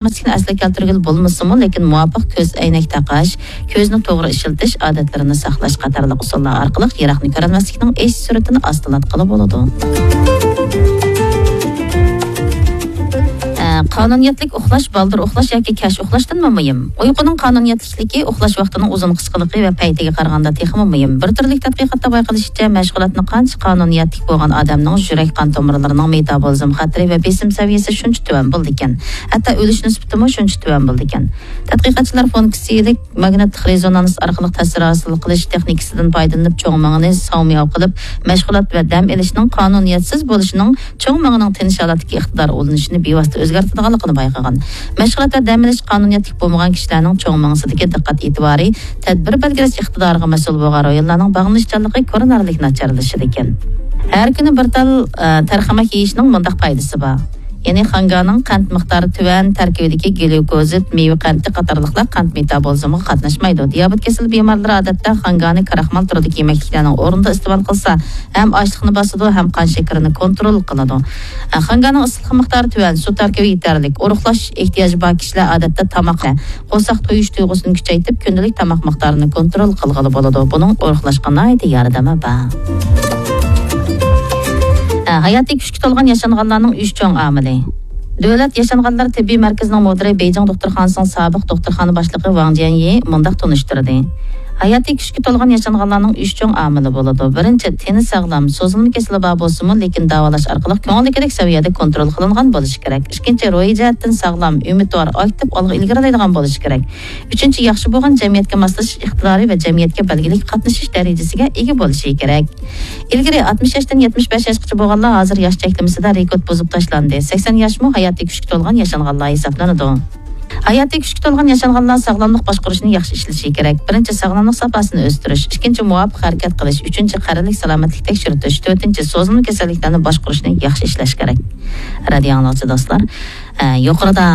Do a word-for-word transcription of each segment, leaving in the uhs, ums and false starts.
كۆرەلمەسلىكنى ئەسلىگە كەلتۈرگىلى بولمىسىمۇ، لېكىن مۇۋاپىق كۆز ئەينەك تاقاش، كۆزنى توغرا ئىشلىتىش ئادەتلىرىنى ساقلاش قاتارلىق ئۇسۇللار ئارقىلىق يىراقنى كۆرەلمەسلىكنىڭ ئېشىش سۈرئىتىنى ئاستىلاتقىلى بولىدۇ. ئە، قانۇنىيەتلىك ئۇخلاش بالدۇر ئۇخلاش ياكى كەچ ئۇخلاشتىنمۇ مۇھىم. ئۇيقۇنىڭ قانۇنىيەتلىكلىكى ئۇخلاش ۋاقتىنىڭ ئۇزۇن قىسقىلىقى ۋە پەيتىگە قارىغاندا تېخىمۇ مۇھىم. بىر تۈرلۈك تەتقىقاتتا بايقىلىشىچە، مەشغۇلاتنى قانچە قانۇنىيەتلىك بولغان ئادەمنىڭ يۈرەك قان تومۇرلىرىنىڭ مېتابولىزم خەتىرى ۋە بېسىم سەۋىيەسى شۇنچە تۆۋەن بولىدىكەن. ھەتتا ئۆلۈش نىسبىتىمۇ شۇنچە تۆۋەن بولىدىكەن. تەتقىقاتچىلار فۇنكسىيەلىك ماگنىتلىق رېزونانس ئارقىلىق تەسىر ھاسىل قىلىش تېخنىكىسىدىن پايدىلىنىپ، چوڭ مېڭىنى ساۋمىياۋ قىلىپ، مەشغۇلات ۋە دەم ئېلىشنىڭ قانۇنىيەتسىز بولۇشىنىڭ چوڭ مېڭىنىڭ تىنچ ھالەتتىكى ئىقتىدار ئۇلىنىشىنى بىۋاسىتە ئۆزگەرتىدىغانلىقىنى بايقىغان. مەشغۇلات ۋە دەم ئېلىش قانۇنىيەتلىك بولمىغان كىشىلەرنىڭ چوڭ مېڭىسىدىكى دىققەت ئېتىبارى، تەدبىر بەلگىلەش ئىقتىدارىغا مەسئۇل بولغان رايونلارنىڭ باغلىنىشچانلىقى كۆرۈنەرلىك ناچارلىشىدىكەن. ھەر كۈنى بىر تال، ئە، تەرخەمەك يېيىشنىڭ مۇنداق پايدىسى بار. يەنى خانگانىڭ قەنت مىقدارى تۆۋەن، تەركىبىدىكى گليۇكوزىد، مېۋە قەنتى قاتارلىقلار قەنت مېتابولىزمىغا قاتناشمايدۇ. دىيابېت كېسىلى بىمارلىرى ئادەتتە خانگانى كراخمال تۈرىدىكى يېمەكلىكلەرنىڭ ئورنىدا ئىستېمال قىلسا، ھەم ئاچلىقنى باسىدۇ، ھەم قان شېكىرىنى كونترول قىلىدۇ. خانگانىڭ ئىسسىقلىق مىقدارى تۆۋەن، سۇ تەركىبى يېتەرلىك، ئورۇقلاش ئېھتىياجى بار كىشىلەر ئادەتتە تاماق قورساق تويۇش تۇيغۇسىنى كۈچەيتىپ، كۈندىلىك تاماق مىقدارىنى كونترول قىلغىلى بولىدۇ. بۇنىڭ ئورۇقلاشقا ناھايىتى ياردىمى بار. ھە، ھاياتىي كۈچكە تولغان ياشانغانلارنىڭ ئۈچ چوڭ ئامىلى. دۆلەت ياشانغانلار تېببىي مەركىزىنىڭ مۇدىرى، بېيجىڭ دوختۇرخانىسىنىڭ سابىق دوختۇرخانا باشلىقى ۋاڭ جيەنيى مۇنداق تونۇشتۇردى. ھاياتىي كۈچكە تولغان ياشانغانلارنىڭ ئۈچ چوڭ ئامىلى بولىدۇ. بىرىنچى، تېنى ساغلام، سوزۇلما كېسىلى بار بولسىمۇ، لېكىن داۋالاش ئارقىلىق كۆڭۈلدىكىدەك سەۋىيەدە كونترول قىلىنغان بولۇشى كېرەك. ئىككىنچى، روھىي جەھەتتىن ساغلام، ئۈمىدۋار، ئاكتىپ، ئالغا ئىلگىرىلەيدىغان بولۇشى كېرەك. ئۈچىنچى، ياخشى بولغان جەمئىيەتكە ماسلىشىش ئىقتىدارى ۋە جەمئىيەتكە بەلگىلىك قاتنىشىش دەرىجىسىگە ئىگە بولۇشى كېرەك. ئىلگىرى ئاتمىش ياشتىن يەتمىش بەش ياشقىچە بولغانلار ھازىر ياش چەكلىمىسىدە رېكورت بۇزۇپ تاشلاندى. سەكسەن ياشمۇ ھاياتىي كۈچكە تولغان ياشانغانلار ھېسابلىنىدۇ. ھاياتىي كۈچكە تولغان ياشانغانلار ساغلاملىق باشقۇرۇشىنى ياخشى ئىشلىشى كېرەك. بىرىنچى، ساغلاملىق ساپاسىنى ئۆستۈرۈش، ئىككىنچى، مۇۋاپىق ھەرىكەت قىلىش، ئۈچىنچى، قەرەللىك سالامەتلىك تەكشۈرتۈش، تۆتىنچى، سوزۇلما كېسەللىكلەرنى باشقۇرۇشنى ياخشى ئىشلەش كېرەك. رادىيو ئاڭلىغۇچى دوستلار، ئە، يۇقىرىدا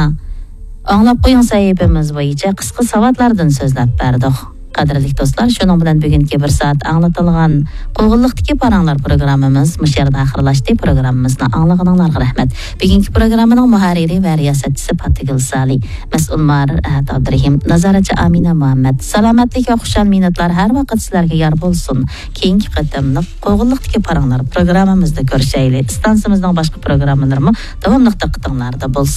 ئاڭلاپ قويۇڭ سەھىپىمىز بويىچە قىسقا ساۋاتلاردىن سۆزلەپ بەردۇق. قەدىرلىك دوستلار، شۇنىڭ بىلەن بۈگۈنكى بىر سائەت ئاڭلىتىلغان قوغۇنلۇقتىكى پاراڭلار پروگراممىمىز مۇشۇ يەردە ئاخىرلاشتى. پروگراممىمىزنى ئاڭلىغىنىڭلارغا رەھمەت. بۈگۈنكى پروگراممىنىڭ مۇھەررىرى ۋە رىياسەتچىسى پاتىگۈل سالى، مەسئۇل مۇھەررىر ئەھەت ئابدۇرېھىم، نازارەتچى ئامىنە مۇھەممەد. سالامەتلىك ۋە خۇشال مىنۇتلار ھەر ۋاقىت سىلەرگە يار بولسۇن. كېيىنكى قېتىملىق قوغۇنلۇقتىكى پاراڭلار پروگراممىمىزدا كۆرۈشەيلى. ئىستانسىمىزنىڭ باشقا پروگراممىلىرىمۇ داۋاملىق دىققىتىڭلاردا بولسۇن.